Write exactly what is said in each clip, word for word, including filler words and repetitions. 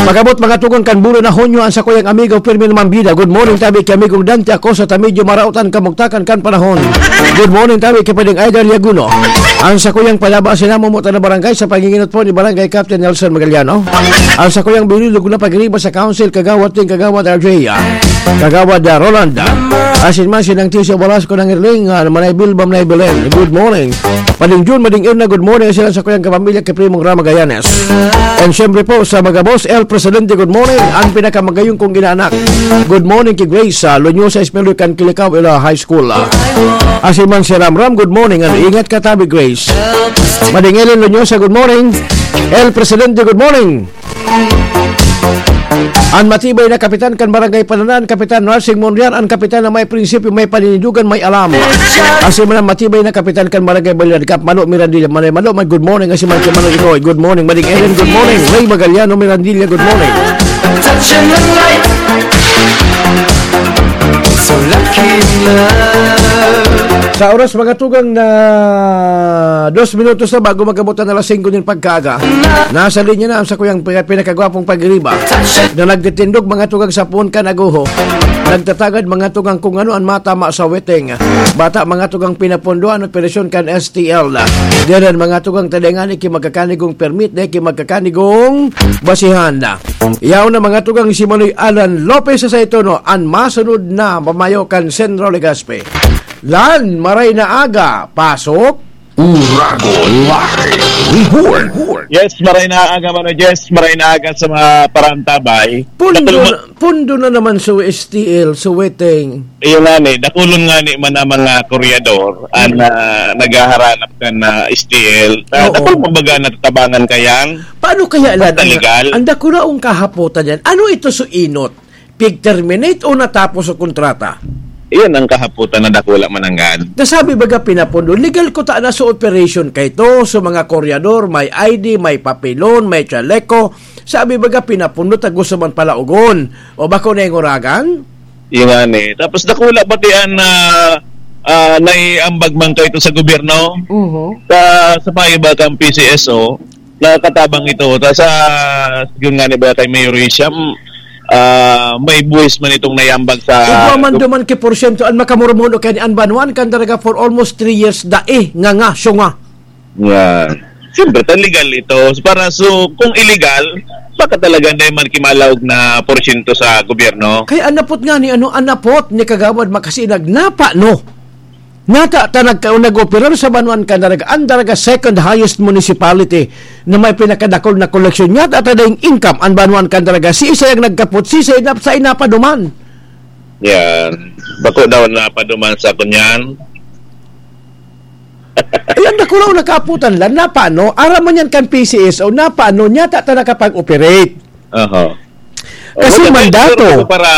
Pag-abot mga tugang kan bulan na Hunyo, ang sakuyang amigo Fermin Mambida. Good morning tabi ki amigong Dante Acosta ta medyo maraot an kamugtakan kan panahon. Good morning tabi ki Pwedeng Idol Yaguno. Ang sakuyang palaba sa namumutan na barangay sa panginginot po ni Barangay Captain Nelson Magaliano. Ang sakuyang bililog na pagriba sa council, Kagawad Ting, Kagawad R J, ah, Kagawad, ah, Roland, ah, asin man sinang Tisyo Balasco ng Irling, ah, Manay Bilba, Manay Belen. Good morning. Mading Jun, Mading Irna, good morning. Sila sa kuyang kapamilya kay Primong Rama Gayanes. And syempre po sa mga boss, El Presidente, good morning. Ang pinakamagayong kong inaanak. Good morning kay Grace, ah, Lunyosa Espinoy kan Kilikao, Ila High School, ah. Asin man si Ramram, good morning. Ano, ingat ka tabi, Grace. Mading Ellen Lunyosa, good morning. El Presidente, good morning. An matibay na kapitan kan Barangay Pananan, Kapitan Narsing Monreal, an kapitan na may prinsipyo, may paninindugan, may alam. Asin man an matibay na kapitan kan Barangay Baliladcap, Malo Mirandilla, Manay Malo, man, good morning. Asin man si Manong Ikoy, good morning. Mading Ellen, good morning. Ray Magaliano Mirandilla, good morning. Sa oras, mga tugang, na dos minutos na bago mag-abot ang alas singko nin pagkaaga, nasa linya na ang sakuyang pina-, pinakagwapong pagiriba na nagtitindog mga tugang sa puon kan agoho, nagtatagad mga tugang kung ano ang matama sa weteng. Bata mga tugang pinapundo an operasyon kan S T L. Diyan mga tugang tadengani ki magkakanigong permit, dai ki magkakanigong basihan. Yaon na mga tugang si Manoy Alan Lopez sa Saitono, an masunod na mamayo kan Central Legazpi. Lan, maray na aga, pasok. Uragon Live Report. Yes, maray na aga, Mano Jess. Maray na aga sa mga parantabay. Pundo Natulmo- na, pundo na naman sa S T L, sa weteng. Iyo nga ni, dakulon nga ni man ang mga koryador, ang, Mm. ah, naghaharanap kan, ah, S T L. Ah, Oo. Dakul, kumbaga, natatabangan kayang Paano kaya, Lad, basta ang, legal. Ang dakulaong kahapotan yan? Ano ito, so inot? Pig-terminate o natapos ang kontrata? Iyan ang kahapotan na dakula mananggad. Nasabi baga pinapundo, legal ko ta na sa operation kay to, sa mga koryador, may I D, may papelon, may chaleco. Sabi baga pinapundo, ta gusto man pala ugon. O bako na yung uragan? Iyan nga ni. Tapos dakula pati an, ah, ah, naiambag man kayo ito sa gobyerno. Uho. Sa, sa payo ba kang P C S O, nakatabang ito. Ta sa, yun nga ni ba kay Mayor Hisham, ah, may buwis man itong naiambag sa Igwa man duman ki porsyento an makamurmon o kaya ni an banwaan kan Daraga for almost three years, dai, nga nga, siya nga. Yan. Siyempre, ta legal ito. Para so, kung illegal, baka talaga na man kimalaog na porsyento sa gobyerno. Kaya anapot nga ni, ano, anapot ni Kagawad Makasinag, napa, no? Nata ta nagka-, nag-operar sa Banwaan kan Daraga, an Daraga second highest municipality na may pinakadakul na koleksyon. Nata ta daing income an Banwaan kan Daraga. Si isa yung nagkapot, si isa yung nap-, sa inapaduman. Yan. Bako daw napaduman sa kunyan. Ay, ang dakulaw nakaputan lang. Napano? Aram man yan kan P C S O. Napano? Nata ta nakapag-operate. Aha. Kasi Wala, mandato. Pero para,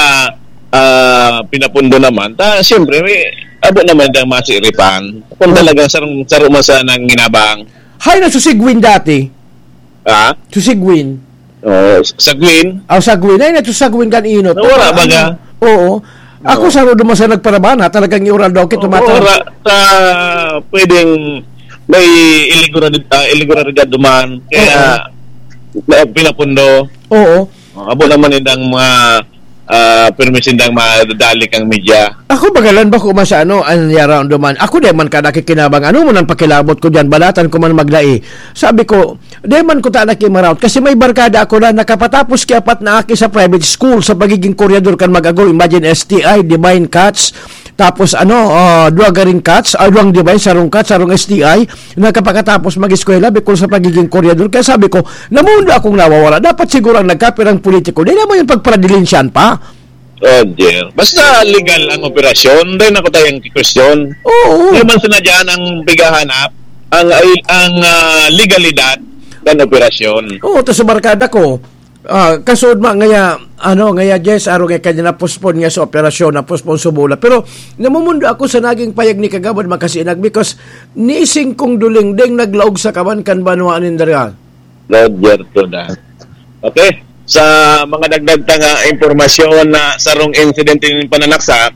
ah, pinapundo naman, ta, siyempre, may abo naman dang masiripan. Kung Oh. talagang sarong, saro man sa nang ginabang. Hay, nasusigwin dati. Ha? Susigwin. Oh, sa Gwin? Aw, sa Gwin. Ay, nato sa Gwin kan inot. Nawara Ang baga? Oo. Ako Oo. sa Rodo man sa nagparabana, talagang iural daw kito Oo, mata. Wala. Sa pwedeng may ilegalidad, ah, ilegalidad duman. Kaya Oo. na pinapundo. Oo. Oh, abo naman indang mga, ah, permi sindang madadali kang media. Ako bagalan ba ko masano an yaraon duman? Ako di man ka nakikinabang. Ano mo nang pakilabot ko diyan? Balatan ko man magdai. Sabi ko, di man ko ta nakimaraot. Kasi may barkada ako na nakapatapos ki apat na aki sa private school sa pagiging koryador kan mag-ago. Imagine, S T I, divine catch. Tapos ano, ah, duwa garing catch, ah, duwang divine, sarong catch, sarong S T I. Nakapakatapos mag-eskwela, bikol sa pagiging koryador. Kaya sabi ko, namundo akong nawawala. Dapat siguro ang nagkapirang politiko, di naman yung pagparadilinsyan pa. Roger. Basta legal ang operasyon, dahil ako tayong question. Oo. Di man sinadya ang pighahanap, ang, ang, ah, legalidad ng operasyon. Oo, to sa barkada ko, ah, kasud ma, ngaya, ano, ngaya, Jess, araw nga kanya na-postpone nga sa operasyon, na-postpone sa bola. Pero, namumundo ako sa naging payag ni Kagawad Makasinag because nising kong duling ding naglaog sa kaban kan banwaan nin Daraga. Roger to na. Okay? Sa mga dagdag ta nga impormasyon na sarong insidente nin pananaksak,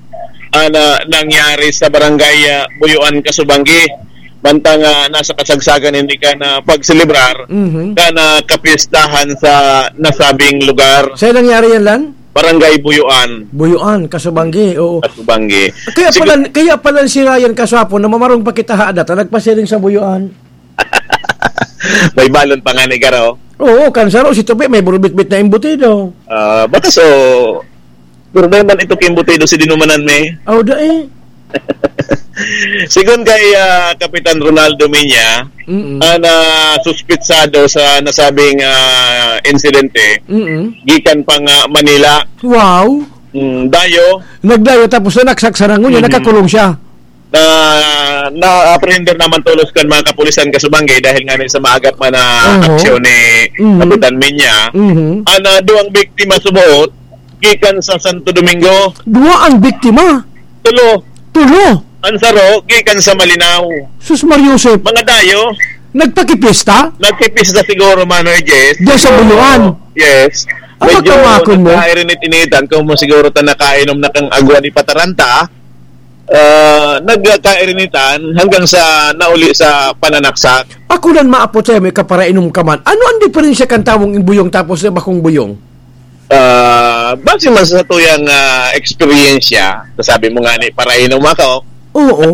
ah, na nangyari sa barangay, ah, Buyuan, Kasubanggi. Mantang, ah, nasa kasagsagan, hindi ka na pagselebrar, Mhm. ka na kapistahan sa nasabing lugar. Saan nangyari yan, Lan? Barangay Buyuan. Buyuan, Kasubanggi, oo. Kasubanggi. Kaya Sige. pala, kaya pala si Ryan kasapon na mamarong pa kita haada, ta nagpasiring sa Buyuan. May balon pa nga ni Garo. Oo, kan saro si Tupi, may burubitbit na embutido. Ah, baka so, pero dahil man ito kimbutido si dinumanan me. Aw, dai. Sigon kay, ah, Kapitan Ronaldo Minya, Mm-mm. ah, na suspitsado sa nasabing, ah, insidente, Mm-mm. gikan pa nga Manila. Wow. Mm, dayo. Nagdayo tapos nanaksak sa rangon niya, Mhm. nakakulong siya. Na, na-apprehender naman tolos kan mga kapulisan Kasubanggi dahil nga ni sa maagap man na Oho. aksyon ni Mhm. Kapitan Minya. Mhm. Ana, duwang biktima subuot, gikan sa Santo Domingo. Duwa ang biktima? Tulo. Tulo? Ang saro, gikan sa Malinao. Sus, Mar Joseph. Mga dayo. Nagpakipista? Nagpipista siguro, Manoy Jess. Diyan sa Buluan? Yes. Ang Medyo magkamakon mo? nagkairinit-initan. Kung mo siguro ta nakainom na kang agwa ni Pataranta, ah, nagkairinitan hanggang sa nauli sa pananaksak. Ako lang maapot sa'yo, may kaparainom ka man. Ano ang diferensya kan tawong buyong tapos sa bakong buyong? Ah, base man sa tuyang, ah, eksperyensya, sabi mo nga ni, parainom ako. Oo.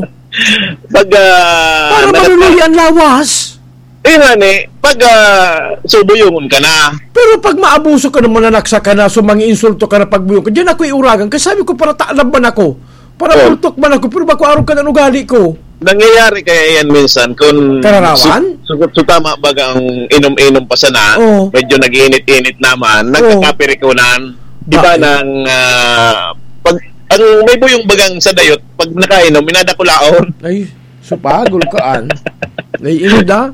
Pag, ah, Para naga- maluluya ang lawas. Eh, nga ni, pag, ah, subuyungon ka na. Pero pag maabuso ka na, mananaksak ka na, so mga insulto ka na, pagbuyong ka, diyan ako iuragan. Kasi sabi ko, para taalab man ako. Para Oh. bultok man ako, pero bako arog ka na ugali ko. Nangyayari kaya yan minsan kung Kararawan? su-, su-, su-, tama baga ang inom-inom pa sana, Oo. medyo nag-iinit-init naman, Oo. nagkakapirikunan. Iba Bakit? ng, ah, pag, ang may buyong bagang sa dayot, pag nakainom, minadakulaon. Ay, supagol ka, an. Naiinod, ah.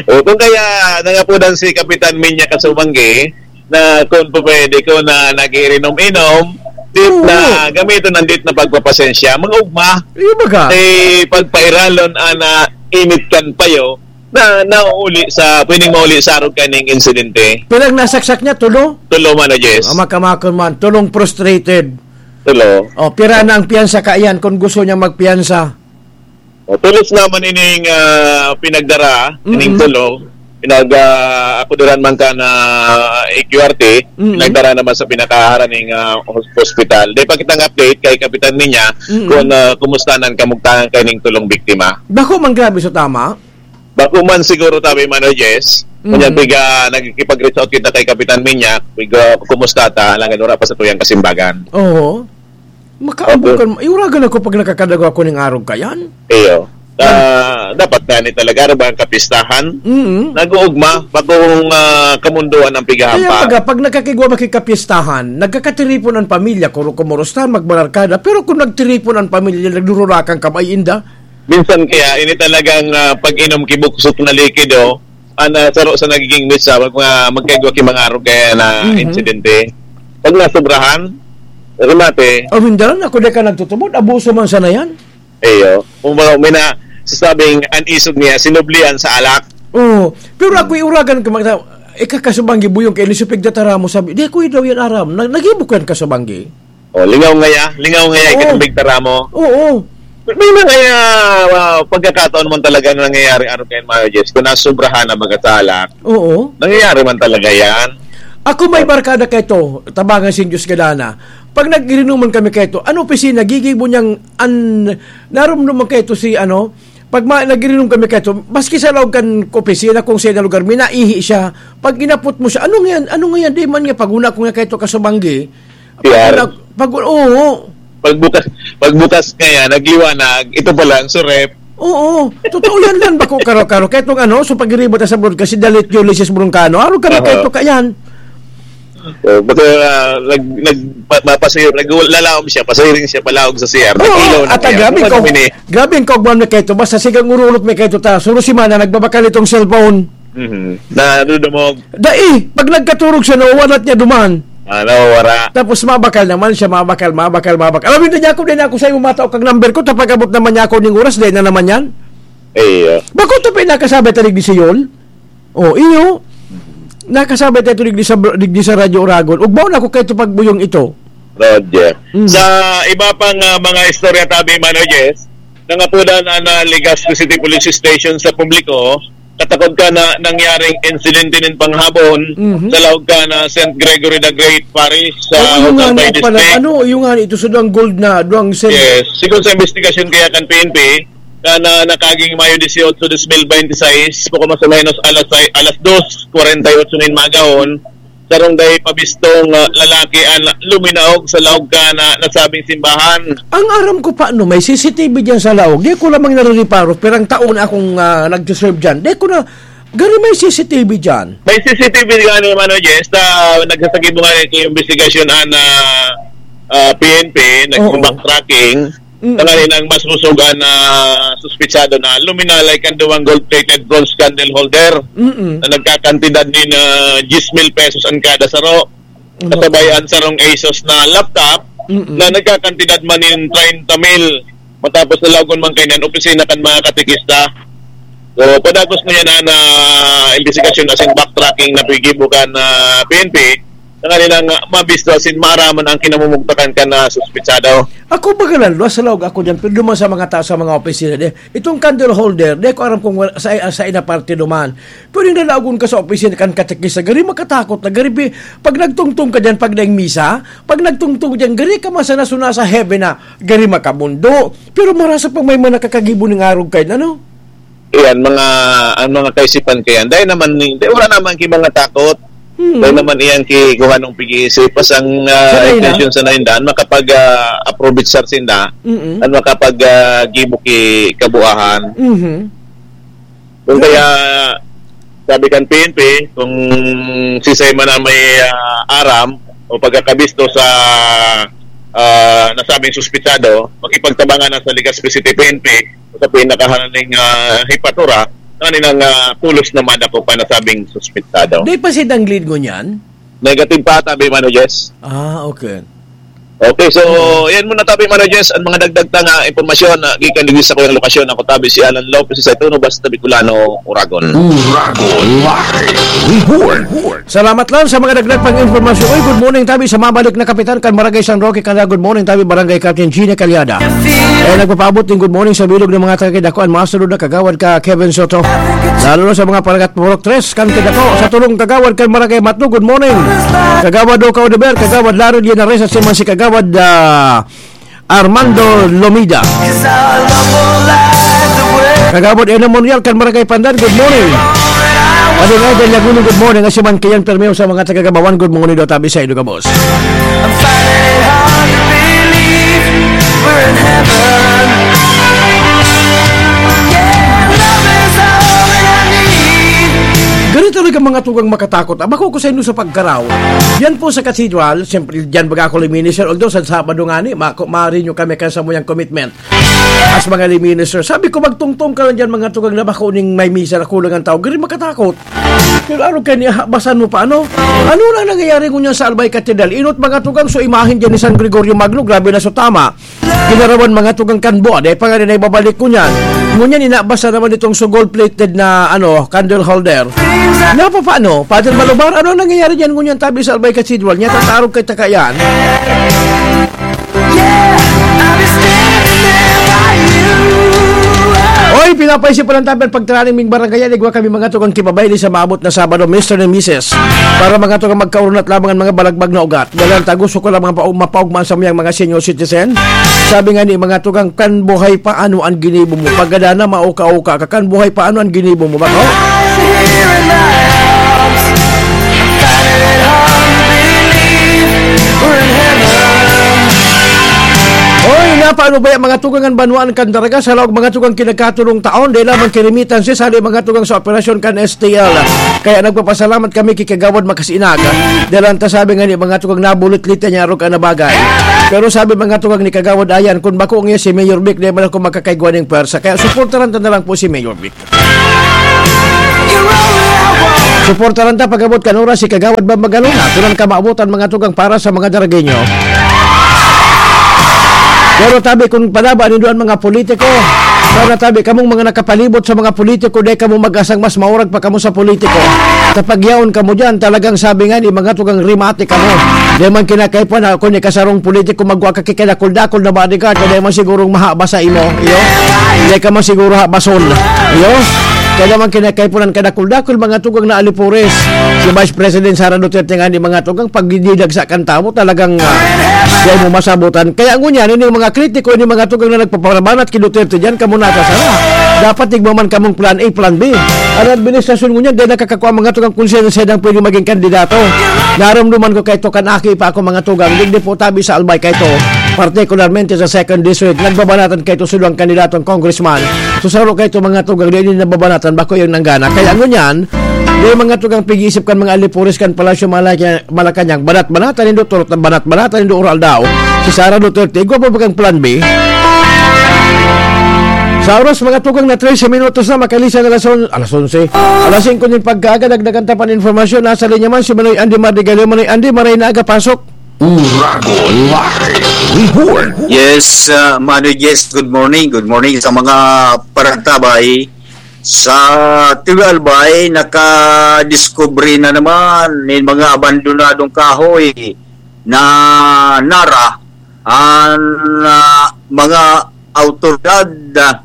O, kung kaya nangapunan si Kapitan Minya Kasumanggi, na kung pwede ko na nag-iinom-inom, dit Oo. na gamiton ang dit na pagpapasensya. Mga ugma, Iyo baga? eh, pagpairalon ana init kan payo na nauli sa, pwedeng mauli sa arog kaning insidente. Pirang nasaksak niya, tulo? Tulo man, Jess. Ah, makamakon man, tulong frustrated. Tulo. Oh, pira na ang piyansa ka yan kung gusto niya magpiyansa? O, tulos naman ining, ah, pinagdara, ining Mm-mm. tulo. Pinag, ah, ako duran man ka na E Q R T, Mm-mm. pinagdara naman sa pinakaharaning, ah, hos-, hospital. Dahil pakitang update kay Kapitan Minya Mm-mm. kung, ah, kumusta nang kamugtangan kay ning tulong biktima. Bako man grabe sa tama? Bako man siguro tabi man, Jess. Mm-mm. Kanya piga nagkikipag-reach out kita kay Kapitan Minya, piga kumusta ta, alangan wala pa sa tuyang kasimbagan. Oo. Makaambukan, Okay. iuragan ako pag nakakadagaw ako ning arog kayan. Iyo. Ah, dapat nga ni talaga, ano ba ang kapistahan? Mm. Nag-uugma, bagong, ah, kamunduan ang Kaya pigahampa. baga, pag nakakigwa makikapistahan, nagkakatiripon ang pamilya, kuro-, kumurusta, magbararkada. Pero kung nagtiripon ang pamilya, nagdururakan ka, ay inda. Minsan kaya, ini talagang, ah, pag-inom kibuksok na likido, ang, ah, saro sa nagiging mitsa, mag-, mga, magkaigwa ki mga arog kaya na Mhm. insidente. Pag nasobrahan, remate. Oh, Windaran, ako di ka nagtutubod, abuso man sana yan. Iyo. Kung ba, may na, sasabing, ang isog niya, sinublian sa alak. Oo. Pero ako iuragan ko, magsa-, ikakasubanggi buyong kay Lisupig Tataramo, sabi, "Di, ako daw yan aram." Na-, nagibok yan kasubanggi. Oh, lingaw ngaya, lingaw ngaya, Oo. ikatubig Taramo. Oo. May mga, ah, ah, pagkakataon man talaga na nangyayari, ano, kay Mayo Jess, kung nasobrahan na baga sa alak, Oo. nangyayari man talaga yan. Ako may barkada kay to, tabangan sin Diyos gadana. Pag nag-irinuman kami kay to, ano opisina, gigibo niyang an-, narumduman kay to si, ano, pag ma-, nag-irinom kami kay to, maski sa laog kan opisina, kung sa lugar, minaihi siya. Pag inapot mo siya, "Ano nga yan? Ano nga yan?" Di man nga, pag una ko nga kay to kasubanggi, Yan. pag una, pag, oo. Pagbukas, pagbukas kaya, nagliwanag, ito pala ang surep. Oo, totoo yan lang, bako karo-karo. Kaya itong ano, so pag-iribot sa broadcast, si Dalit Ulysses Broncano, ano kami Aha. kay to kayan? Oh, baka, ah, nag-, nag-, ma-, mapasayro, naglalaom siya, pasayring siya, palaog sa C R. Oo, Nag-ilaw na at kaya. grabe Ano ko, ba naman eh? grabe ang kaugman na kay to. Basta sigang urulok may kay to ta. Suro si Mana, nagbabakal itong cellphone. Mhm. Na, ano, dumog. Dai, pag nagkaturog siya, nawawalat niya duman. Ah, nawawara. Tapos mabakal naman siya, mabakal, mabakal, mabakal. Alam mo, hindi niya ako, di na ako sa'yo matao kag number ko, tapag abot naman niya ako ning oras, di na naman yan. Iyo. Bako to pa yung nakasabay tanig ni Siyol? Oh, iyo. Nakasabay tayo digdi sa, digdi sa Radyo Oragon. Ugbaw na ako kay ito pagbuyong ito. Roger. Mm. Sa iba pang, ah, mga istorya tabi, Mano Jess, nangapodan an, ah, Legazpi City Police Station sa publiko, katakod kan nangyaring insidente nin panghabon Mhm. sa laog kan Saint Gregory the Great Parish sa Ay, yung Hotang nga Bay na pala, District. Ano, yung nga, ito sa duwang gold na, duwang sen- Yes. Sigon sa investigasyon kaya kan P N P, na, na nakaging Mayo dieciocho, dos mil veintiseis, puko mas o menos alas sais, alas dos kwarenta y ocho nin magahon, sarong dai pabistong, ah, lalaki an luminaog sa laog kan nasabing simbahan. Ang aram ko pa, no, may C C T V diyan sa laog. Di ko lamang narereparo, pirang taon na akong, ah, nagsiserve diyan. Di ko na, gari may C C T V diyan. May C C T V gani, Mano Jess, na nagsasagibo nga rin yung investigasyon an, ah, ah, P N P, Oo. nag-backtracking. Mm. Tanganing mas musugan na suspetsado na luminalay kan duwang gold-plated bronze candle holder Mm-mm. na nagkakantidad nin, ah, diyes mil pesos an kada saro. Mm. Kasabay an sarong Asus na laptop Mm-mm. na nagkakantidad man nin treinta mil matapos nalagon man kaiyan opisina kan mga katekista. So, padagos na yan na, na investigasyon asin backtracking na piggibo kan, ah, P N P. Tanganing, ah, mabisto asin maaraman ang kinamumugtakan kan, ah, suspetsado. Ako baga na, luwas sa laog ako diyan, pero duman sa mga tao sa mga opisina, di, itong candle holder, di ko aram kung wala, sa, sa ina parte duman. Pwedeng lalagon ka sa opisina kan katekista, gari makatakot na, gari pi-, pag nagtungtong ka diyan, pag daing misa, pag nagtungtong diyan, gari ka masana-suna sa heaven na, gari makabundo. Pero marasa pag may mga nakakagibo ning arog kayo, ano? Iyan, mga, ang mga kaisipan kayan. Dahil naman, ni, dahil wala naman ki mga takot. Hmm. Dahil naman iyan ki kuha nung pag-iisip. Pas ang, ah, Sanay na. Intention sa naindan, makapag, ah, approve it, sir, sinda. Mm-mm. At makapag, ah, gibo ki kabuahan. Mhm. Kung kaya, sabi kan P N P, kung sisay man ang may, ah, aram o pagkakabisto sa, ah, nasabing suspetsado, makipagtabangan na sa Legazpi City P N P o sa pinakahananing, ah, hipatura, na nilang, ah, pulos na madako pa nasabing suspetsado. Di pa si Danglid ngunyan? Negative pa, tabi, Mano Jess. Ah, okay. Okay, so, yan muna, tabi, Mano Jess, ang mga dagdag ta nga impormasyon na gikan digdi sa kuyang lokasyon. Ako, tabi, si Alan Lopez, sa Ituno, Basta Bicolano, Uragon. Uragon Live Report. Salamat lang sa mga dagdag pang impormasyon. Uy, good morning, tabi, sa mabalik na kapitan kan Barangay San Roque, kanda, good morning, tabi, Barangay Captain Gina Calyada. Eh, nagpapaabot din good morning sa bilog ng mga taga-Kidakuan, masunod na kagawad ka, Kevin Soto. Lalo na sa mga paragat Purok tres, kan Kidaco, sa tulong kagawad kan Barangay Matno, good morning. Kagawad Oka Odeber, Kagawad Larry Linares, at si man si Kagawad, ah, Armando Lomida. Kagawad Eno Monreal, kan Barangay Pandan, good morning. Pati nga, Idol Laguno, good morning. At si man Kian Permeo sa mga taga-Gabawan, good morning daw, tabi sa Ido Gabos. I'm finding it hard to believe we're in heaven. Yeah, love is all that I need. Ganito talaga mga tugang makatakot. Abako ko sa inyo sa pagkaraw. Yan po sa cathedral, siyempre, dyan baga ako lay minister. Although, sa Sabado nga ni, ma-, maaari nyo kami kan samuyang commitment. As mga lay minister. Sabi ko, magtungtong ka lang dyan, mga tugang na bako ning may misa na kulang ang tao. Gari makatakot. Pero ano kaya niya, basan mo pa, ano? Ano na nangyayari ngunyan sa Albay Cathedral? Inot mga tugang, so imahen dyan ni San Gregorio Magno, grabe na so tama. Ginarawan mga tugang kan buwan, eh, pangani na ibabalik ko niyan. Ngunyan, inabasa naman itong so gold-plated na, ano, candle holder. Napapaano? Father Malubar, ano nangyayari dyan ngunyan tabi sa Albay Cathedral? Niya tatarog kay taka yan. Yeah, I'll be standing there by you. Oy, pinapaisip pa lang tabi ang pagtaraning ming barangay yan. Igwa kami mga tugang kibabayli sa maabot na Sabado, Mister and Missus. Para mga tugang magkaurunat lamang ang mga balagbag na ugat. Dalan taguso ko lang mga pa-, mapaugma sa miyang mga senior citizen. Sabi nga ni mga tugang, kan buhay pa ano ang ginibo mo? Pagkada na mauka-uka ka, kan buhay pa ano ang ginibo mo? Bako? Oy, napaano ba yung mga tugang an banwaan kan Daraga sa laog mga tugang kinagkatulong taon? Di lamang kirimitan si sali mga tugang sa operasyon kan S T L. Kaya nagpapasalamat kami kay Kagawad Makasinag. Dalan ta sabi nga ni mga tugang nabulit-lit niya arog ka na bagay. Pero sabi mga tugang ni Kagawad Ayan, kung bako niya si Mayor Vic, di man ako makakaigwa ning pwersa. Kaya suportaran ta na lang po si Mayor Vic. Suportaran ta pag-abot kan oras si Kagawad Bambagalo na tunan ka maabotan mga tugang para sa mga Daragueño. Pero tabi, kung panaba nindo ang mga politiko, para tabi, kamong mga nakapalibot sa mga politiko, dai kamo mag-asang mas maurag pa kamo sa politiko. Kapag yaon kamo diyan, talagang sabi nga ni mga tugang, rimate kamo. Di man kinakaipuhan na kung ikasarong politiko, magwa ka kikadakol-dakol na bodyguard, kaya di man sigurong mahaba sa imo. Iyo? Di ka man siguro habason. Iyo? Kaya di man kinakaipuhan kadakol-dakol, mga tugang na alipores. Si Vice President Sara Duterte nga ni mga tugang, pag didagsa kan tao, talagang ah, di mo masabutan. Kaya ngunyan, ini mga kritiko, ini mga tugang na nagpaparabanat ki Duterte diyan, kamo nasa sara. Dapat igwa man kamong plan A, plan B. An administrasyon ngunyan, dai nakakakua mga tugang kung sino-sino ang pwede maging kandidato. Narumduman ko kaito kan aki pa ako mga tugang, digdi po tabi sa Albay kaito, partikularmente sa second district, nagbabanatan kaito sa duwang kandidatong congressman. So, saro kaito mga tugang, dai din nababanatan, bako yung nanggana. Kaya ngunyan, dai mga tugang pig-iisip kan mga alipores kan Palasyo Malaya-, Malacañang, banat-banatan nindo, turot na banat-banatan nindo, oral daw. Si Sara Duterte, igwa pa ba kang plan B? Sa oras, mga tugang na trese minutos na, makalisan alas on-, alas onse. Alas singko nin pagkaaga, dagdagan ta pan informasyon. Nasa linya man si Manoy Andy Mardigalio. Manoy Andy, maray na aga, pasok. Uragon Live Report. Yes, uh, Manoy Jess, good morning. Good morning sa mga paragtabay. Sa Tiwi Albay, nakadiskubre na naman nin mga abandonadong kahoy na nara an, ah, mga awtoridad, ah,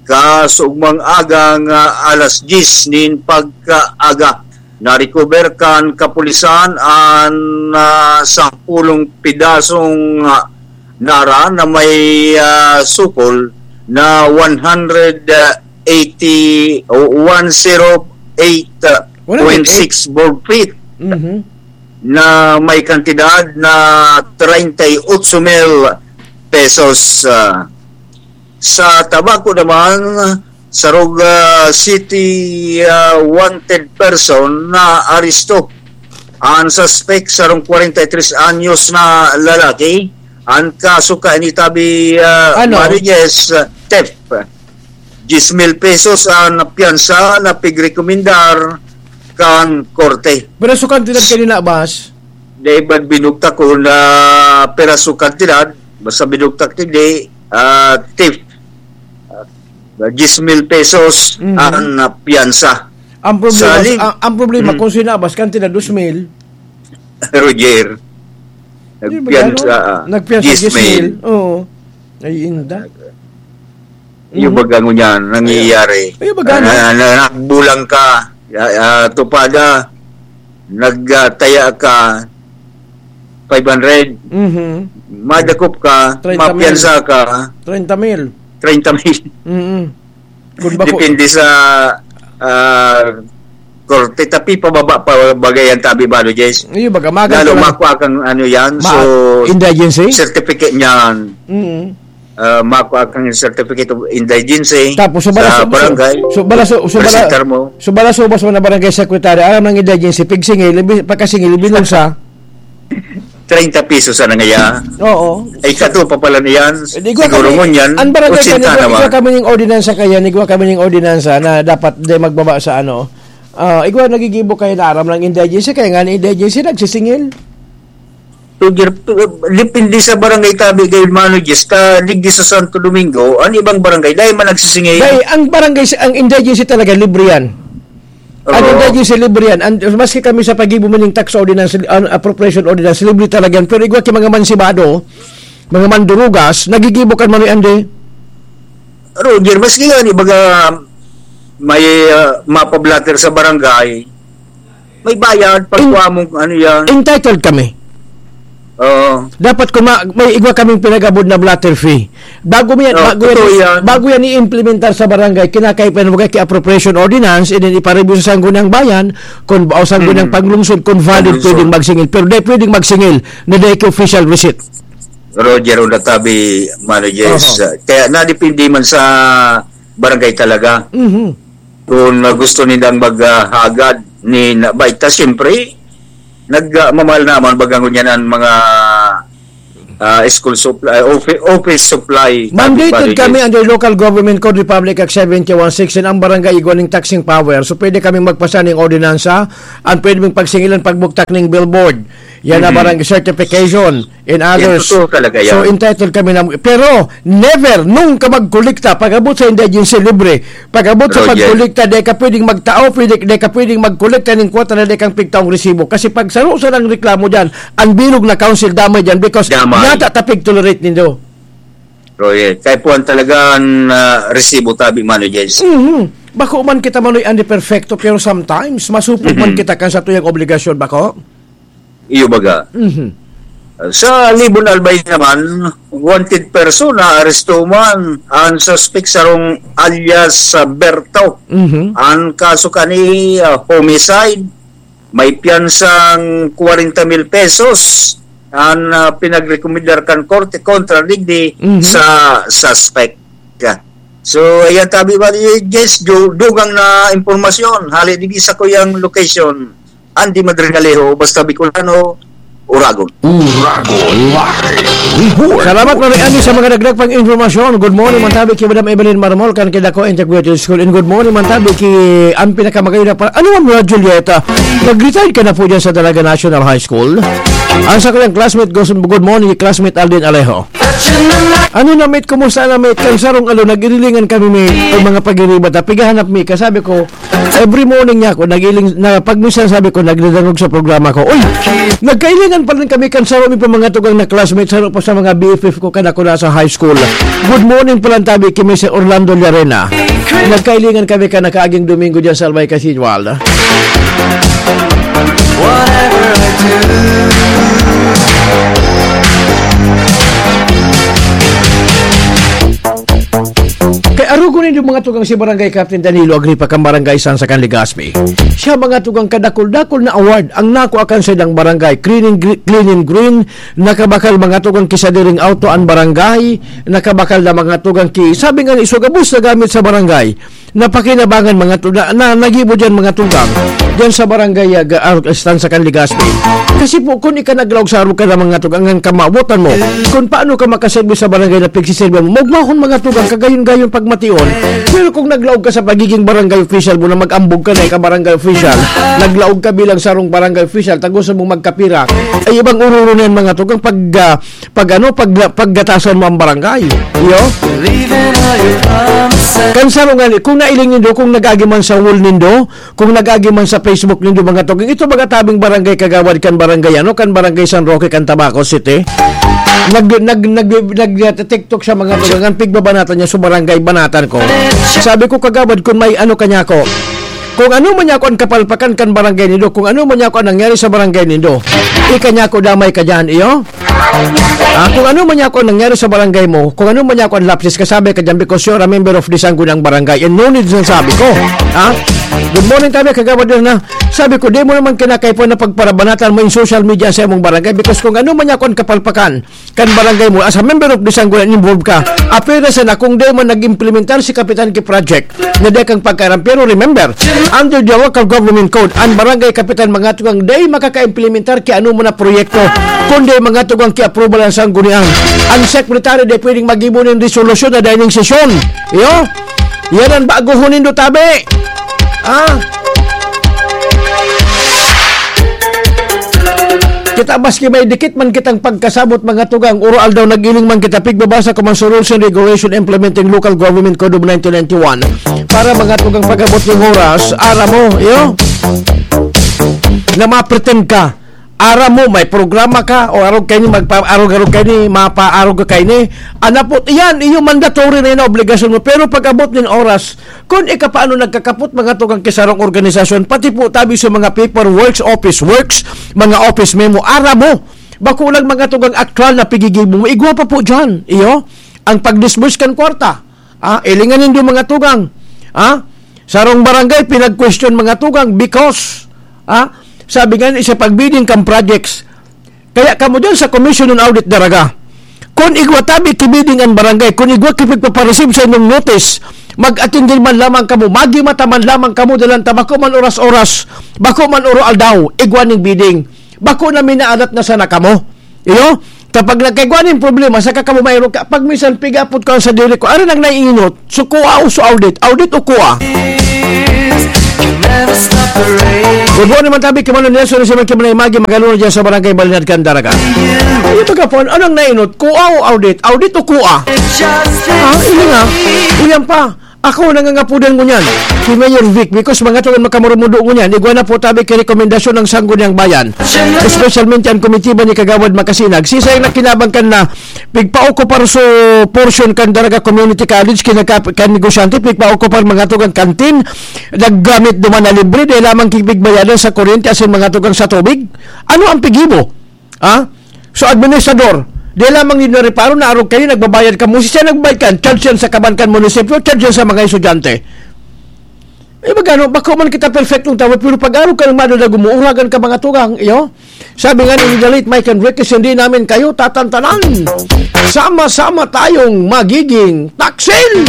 kasugmang agang, ah, alas diyes nin pagkaaga. Narecover kan kapulisan an, ah, sampulong pidasong, ah, nara na may, ah, sukol na one hundred eighty o one zero eight point six board feet Mhm. na may kantidad na treinta y ocho mil pesos. Ah, sa Tabaco naman, sarog, ah, city, ah, wanted person na aresto. Ang suspect, sarong kwarenta y tres anyos na lalaki. Ang kaso kaini tabi, ah, Ano? Marites, ah, theft. Diyes mil pesos ang piyansa na pigrekomendar kan korte. Pero sa kantidad kanina, Bas? Di ba binugtak ko na piraso kantidad? Basta binugtak, hindi, ah, theft. Ah, diyes mil pesos Mhm. ang piyansa. Ang problema, Sa lig- ang, ang problema, Mhm. kung sinabas, kantidad, dos mil. Roger. Di ba Nagpiyansa, gano'n? ah, Nagpiyansa, diyes mil. diyes mil. Oo. Ay, inda. Yung Mhm. baga ngunyan, nangyayari. Ay, yung baga, no? Na, na, nagbulang ka, ah, ah, tupada, nagtaya ka, five hundred. Mhm. Madakop ka, Treinta mil. mapiyansa ka, Treinta mil. treinta mil. Mhm. Kun bako Depende sa, ah, korte. Tapi pababa pa bagay ang tabi, Balo Jess. Iyo, baga, magan Lalo ko lang. makwa kang ano yan, Ma-, so, indigency? certificate niyan. Mm. Ah, makwa kang certificate of indigency Tapos, sa sa balaso-, barangay. so, balaso-, so, bala-, Presentar mo. so, balaso-, bas mo na barangay secretary, aram ng indigency, pigsingil, ibi-, pagkasingil, binulsa. Treinta pesos sana ngaya. Oo. Ay, kato pa pala niyan. Eh, di ko Siguro kami, ngunyan, ang barangay otsenta kami, na igwa ba? kami ning ordinansa kaya, igwa kami ning ordinansa na dapat di magbaba sa ano. Ah, igwa nagigibo kayo na aram ng indigency, kaya nga ni indigency nagsisingil. Roger, depende sa barangay tabi kayo, Mano Jess, ta digdi sa Santo Domingo, ang ibang barangay, dahil man nagsisingil. Dahil ang barangay, ang indigency talaga, libre yan. Ano Oo. daw yung libre yan? An-, maski kami sa pag-ibo man yung tax ordinance, an-, appropriation ordinance, libre talaga yan. Pero igwa ki mga mansibado, mga mandurugas, nagigibo kan Manoy Andy. Roger, maski nga, di baga, may, ah, mapa-blotter sa barangay, may bayad, In-, pagkuha mong ano yan. entitled kami. Oo. Dapat kung ma-, may igwa kaming pinag-abot na blotter fee. Bago mo yan, Oo, bago yan, totoo yan. bago yan i-implementar sa barangay, kinakaipan mo kay appropriation ordinance, and then ipareview sa Sangguniang Bayan, kung ba, o Sangguniang Mm. Panglungsod, kung valid, Panglungsod. pwedeng magsingil. Pero di pwedeng magsingil na di kay official receipt. Roger Ondatabi, Mano Jess. Oho. Kaya nadepende man sa barangay talaga. Mhm. Kung, ah, gusto nilang maghagad ni na, baita, siyempre, nag, ah, mamahal naman, baga ngunyan ang mga, ah, school supply, offi-, office supply, Mandated tabi, kami barangay. under Local Government Code Republic Act seventy-one sixteen, ang barangay igwa ning taxing power. So, pwede kaming magpasa ning ordinansa, ang pwede ming pagsingilan, pagbugtak ning billboard. Yan na Mhm. barang certification and Yan, others. totoo talaga yan. So, entitled kami na, pero never, nung ka magkolekta, pag-abot sa indigency, libre. Pag-abot sa Roger. pagkolekta, di ka pwedeng magtao, pwede, di ka pwedeng magkolekta ng kwota na di kang pigtaong resibo. Kasi pag saro sa nang reklamo dyan, ang bilog na council damay dyan because Damay. yata tapig tolerate nindo. Roger, kay puwan talaga ang, ah, resibo tabi, Mano Jens. Mhm. Bako man kita manoy ani perfecto, pero sometimes, masupog man Mhm. kita kan sa tuyang obligasyon, bako? Iyo baga. Mhm. Sa Libon Albay naman, wanted person na aresto man ang suspect sarong alias, ah, Berto. Mhm. Ang kaso kani, ah, homicide, may piyansang kwarenta mil pesos ang, ah, pinagrekomendar kan korte kontra digdi Mhm. sa suspect. So, ayan tabi ba, yes, du-, dugang na impormasyon. Hali digdi sa kuyang location. Andy Madrigalejo, basta Bicolano, Uragon. Uragon Live Report. Salamat, Manoy Andy, sa mga dagdag pang impormasyon. Good morning, man tabi ki Madam Evelyn Marmol, kan Kidako Integrated School. And good morning, man tabi ki, ang pinakamagayon na pa-, ano, Ma'am Julieta? Nag-retire ka na po dyan sa Dalaga National High School. Ang sa kanyang classmate, good, good morning, classmate Alden Alejo. Ano na, mate? Kumusta na, mate? Kan sarong alo, nag-irilingan kami, mate. Ang mga pag-iriba, ta, pigahanap mi. Kasabi ko, every morning niya ako, nag-iling, na, pag minsan sabi ko, nagdadangog sa programa ko, "Uy, nagkailingan pa rin kami kan saro mi pa mga tugang na classmates, saro pa sa mga B F F ko, kan ako nasa high school." Good morning pa lang tabi kay Mister Orlando Llarena. Nagkailingan kami kan nakaaging Domingo dyan sa Albay Cathedral. Whatever I do. Kay arugo nindo mga tugang si Barangay Captain Danilo Agripa kan Barangay San Sakan, Legazpi. Siya mga tugang kadakul-dakul na award ang nakuha kan sa ilang barangay. Cleaning gre-, cleaning green, nakabakal mga tugang kisadiring auto ang barangay, nakabakal na mga tugang ki-, sabi nga ni, so gabos na gamit sa barangay. Napakinabangan mga tu-, na, na, nagibo diyan mga tugang. Diyan sa barangay, ah, ga-, ah, Estancia kan Legazpi. Kasi po, kung ika naglaog sa arog ka na mga tugang, ang kamawotan mo, kung paano ka makaserbi sa barangay na pagsiserbi mo, magmahon mga tugang, kagayon-gayon pagmation. Pero kung naglaog ka sa pagiging barangay official mo na mag-ambog ka na ika barangay official, naglaog ka bilang sarong barangay official, tago sa mong magkapira, ay ibang ururo na yan mga tugang pag, ah, pag ano, pag, paggatasan mo ang barangay. Iyo? Leaving all your promises. Kan saro nga ni, kung nailing nindo, kung nag-agi man sa wall nindo, kung nag-agi man sa Facebook nindo, mga tugang, ito mga tabing barangay kagawad kan barangay, ano, kan barangay San Roque, kan Tabaco City. Nag, nag, nag, nag, nag-TikTok siya, mga tugang, ang pigbabanatan niya sa barangay, banatan ko. Sabi ko, "Kagawad, kung may ano kanya ko, kung ano man niya ako ang kapalpakan kan barangay nindo, kung ano man niya ako ang nangyari sa barangay nindo, ika niya ako damay ka dyan, iyo?" Ah, kung ano man niya ako nangyari sa barangay mo, kung ano man niya ako ang lapses, kasabi ka dyan because you're a member of the Sangguniang Barangay and no need na sabi ko. Ha? Good morning, tabi, kagawad yun na. Sabi ko, di mo naman kinakaipuhan na pagparabanatan mo yung social media sa imong barangay because kung ano man niya ako ang kapalpakan, kan barangay mo, as a member of the Sangguniang involved ka, apwera sana kung di man nag-implementar si Kapitan ki project na di kang pagkaaram. Pero remember, under the local government code, ang barangay kapitan mga tugang di makaka-implementar ki ano mo na proyekto, kundi mga tugang ki approval ang sanggunian. Ang secretary di pwedeng mag-ibo nin resolusyon na dining sesyon. Iyo? Yan ang baguhon nindo, tabi. Ah? Kita maski may dikit man kitang pagkasabot mga tugang, uro aldaw nag-iling man kita pigbabasa ko man sa rules and regulation implementing local government code of nineteen ninety-one. Para mga tugang pag-abot ng oras, aram mo, iyo? Na ma-pretend ka. Aram mo, may programa ka, o arog kayo ni, magpa-arog-arog kayo ni, mapaarog ka kayo ni. Anapot, iyan, iyo mandatory na yun na obligasyon mo. Pero pag-abot ng oras, kung ika paano nagkakapot, mga tugang kisarong organisasyon, pati po tabi sa mga paperworks, office works, mga office memo, aram mo, bako lang mga tugang aktual na pigigib mo, igwa pa po dyan, iyo, ang pag-disburse kan kwarta. Ah, ilingan nindo mga tugang. Ah, sarong barangay, pinag-question mga tugang because, ah, sabi nga ni sa pag-bidding kan projects, kaya kamo dyan sa Commission on Audit Daraga, kung igwa tabi ki bidding an barangay, kung igwa ki pagpapareceive sa inyong notice, mag-attend din man lamang kamo, magimata man lamang kamo, dalan ta bako man oras-oras, bako man oro-aldaw, igwa ning bidding. Bako na minaalat na sana kamo. Iyo? Kapag nagkaigwa ning problema, saka kamo mayroon ka, pag minsan pigapot ka sa dili ko, ano nang naiinot? So, kuha o so audit? Audit o kuha? Good morning, man tabi, Kamano Nelson, si Marky Manay Magi, Magalona dyan sa Barangay Balinad, Candaraga. Ano yung pagkapon? Anong nainot? Kua o audit? Audit o kua? Ah, ini nga. Uyan pa. Ako, nangangapudan ngunyan. Si Mayor Vic, because mga tugan makamurumudo ngunyan. Igwa na po tabi kay rekomendasyon ng Sangguniang Bayan. Especialmente ang komitiba ni Kagawad Makasinag. Sisay na kinabang kan na pigpaokupar so portion kan Daraga Community College, kinaka-, kan negosyante, pigpaokupar mga tugang kantin, naggamit duman na libre, dahil lamang kipigbayadan sa kuryente asin mga tugang sa tubig. Ano ang pigibo? Ha? So, administrador, dahil lamang yun na reparo na arog kayo, nagbabayad ka mo, siya nagbayad kan, charge yan sa kaban kan munisipyo, charge yan sa mga estudyante. Eh, magano, bako man kita perfectong tawo, pero pag-arog ka ng mado na gumuuragan ka mga tugang, iyo? Sabi nga ni the late Mike Enriquez, "Hindi namin kayo tatantanan. Sama-sama tayong magiging taksil!"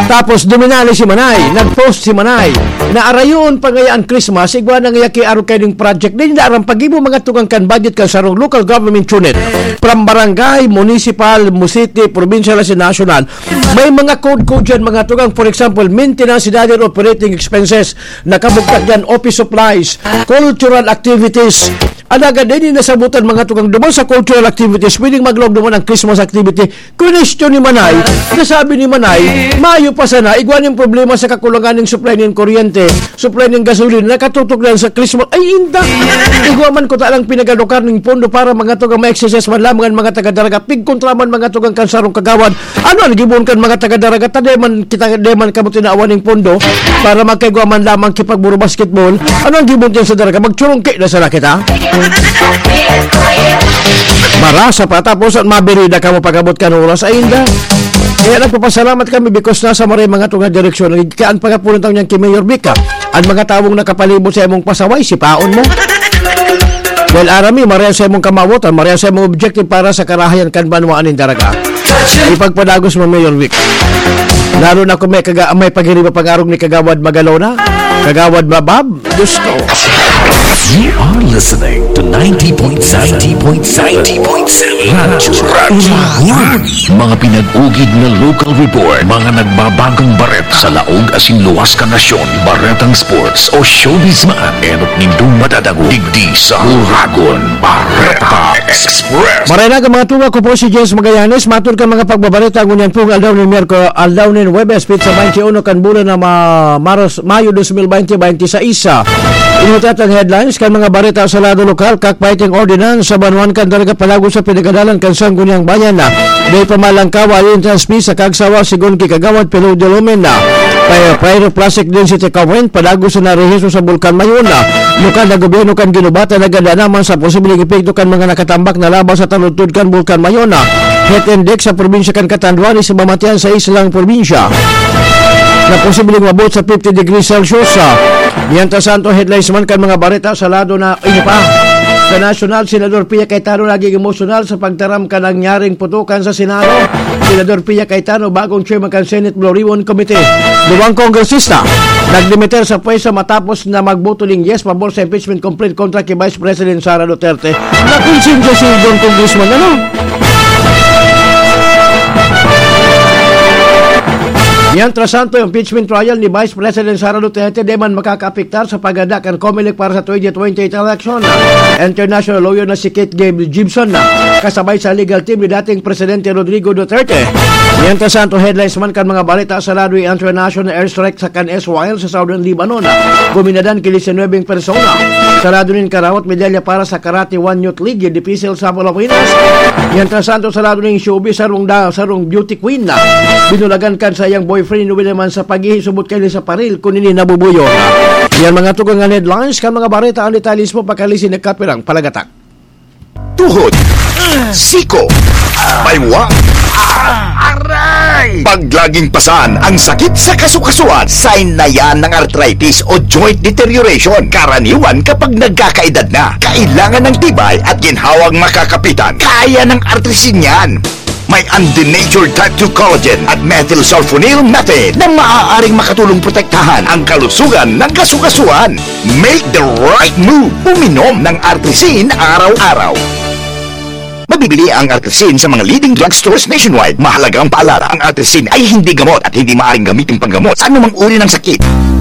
Tapos duminali si Manay, nag-post si Manay, na arayon pa ngaya ang Christmas, igwa na ngaya ki arog kayo ning project. Di nila aram pag-ibo mga tugang kan budget kan sarong local government unit, from barangay, municipal, city, provincial, asin national. May mga code-code yan, mga tugang. For example, maintenance and other operating expenses. Nakabugtak yan, office supplies, cultural activities. Alagad, di nasabutan, mga tugang, duman sa cultural activities, pwedeng maglaog duman ang Christmas activity. Question ni Manay, nasabi ni Manay, mayo pa sana, igwa ning problema sa kakulangan ning supply ning kuryente, supply ning gasolina, nakatutok lang sa Christmas. Ay, inda! Igwa man ko talang pinagadukar ning pondo para mga tugang ma-exercise man lamang ang mga taga-Daraga. Pigkontra man mga tugang kan sarong kagawad. Ano ang gibon kan mga taga-Daraga? Ta di man kita, di man kamo tinawan ning pondo para magkaigwa man lamang kipagburubasketball. Ano ang gibon diyan sa Daraga? Magchurungki na sana kita? Marasa pa, tapos ang mabirida kamo pag-abot kan oras, ay inda. Kaya nagpapasalamat kami because nasa maray mga tunga direksyon. Kaya ang pagkapunan taon niyan kay Mayor Vic, ah, ang mga taong nakapalibot sa imong pasaway, sipaon mo. Dahil arami, maray sa imong kamawotan, maray sa imong objective para sa karahayan kan banwaan nin Daraga. Ipagpadagos mo, Mayor Vic. Lalo na kung may, kaga, may pagiriba pangarog ni Kagawad Magalona, Kagawad Mabab, Diyos ko. You are listening to ninety point seven, ninety point seven, ninety point seven Radyo Radyo Uragon. Mga pinag-ugid na local report, mga nagbabagong bareta sa laog asin luwas kan nasyon, baretang sports o showbiz man, enot nindong madadangog digdi sa Uragon Bareta Express. Maray na, mga tunga, ko po si Jens Magallanes. Matod kan mga pagbabareta, ngunyan pong aldaw nin Miyerkules, aldaw nin Huwebes, petsa twenty-uno kan bulan na ma-, Maros, Mayo dos mil bente, bente sais. Inutat ang headlines kan mga bareta sa lado lokal, cockfighting ordinance sa banwaan kan Daraga palago sa pinagadalan kan Sangguniang Bayan na may pamalangkawa, entrance fee sa Kagsawa, sigon ki Kagawad Pelo de Lumen na py-, pyroclastic density current, palago sa narehiso sa Bulkan Mayon na lokal na gobyerno kan Guinobatan naganda naman sa posibleng epekto kan mga nakatambak na laba sa taludtod kan Bulkan Mayon na heat index sa probinsya kan Catanduanes sa Mamatian sa islang probinsya na posibleng umabot sa fifty degrees Celsius. Sa Mientras tanto, headlines man kan mga bareta sa lado na ini pa. Sa nasyonal, Senador Pia Cayetano naging emosyonal sa pagtaram kan nangyaring putukan sa Senado. Senador Pia Cayetano, bagong chairman kan Senate Blue Ribbon Committee. Duwang kongresista nagdimiter sa pwesto matapos na magboto ning yes pabor sa impeachment complaint kontra ki Vice President Sara Duterte. Nakonsensya si Don Congressman, ano? Mientras tanto, impeachment trial ni Vice President Sara Duterte di man makakaapektar sa pagada kan Comelec para sa twenty twenty-eight election. International lawyer na si Kate Gabe Gibson na kasabay sa legal team ni dating Presidente Rodrigo Duterte. Mientras tanto, headlines man kan mga balita sa lado, international airstrike sa kan Israel sa Southern Lebanon. Guminadan ki disinwebeng persona. Sa lado nin karawat, medalya para sa Karate One Youth League, dipisil sa Pilipinas. Mientras tanto, sa lado nin showbiz, sarong da-, sarong beauty queen na binulagan kan sa iyang boyfriend, inuwi naman sa paghihisubot kaini sa paril, kun ini nabubuyo. Yan mga tugang nga headlines, kan mga bareta, ang detalye mismo, pakalisin na kapirang palagatak. Tuhod, siko, baywa, aray! Pag laging pasan ang sakit sa kasukasuan, sign na yan ng arthritis o joint deterioration. Karaniwan kapag nagkakaedad na, kailangan ng tibay at ginhawang makakapitan. Kaya ng Artrisin yan. May undenatured type two collagen at methylsulfonyl methane na maaaring makatulong protektahan ang kalusugan ng kasukasuan. Make the right move. Uminom ng Artrisin araw-araw. Bili ang Artesin sa mga leading drugstores nationwide. Mahalagang paalala, ang Artesin ay hindi gamot at hindi maaaring gamitin panggamot sa anumang uri ng sakit.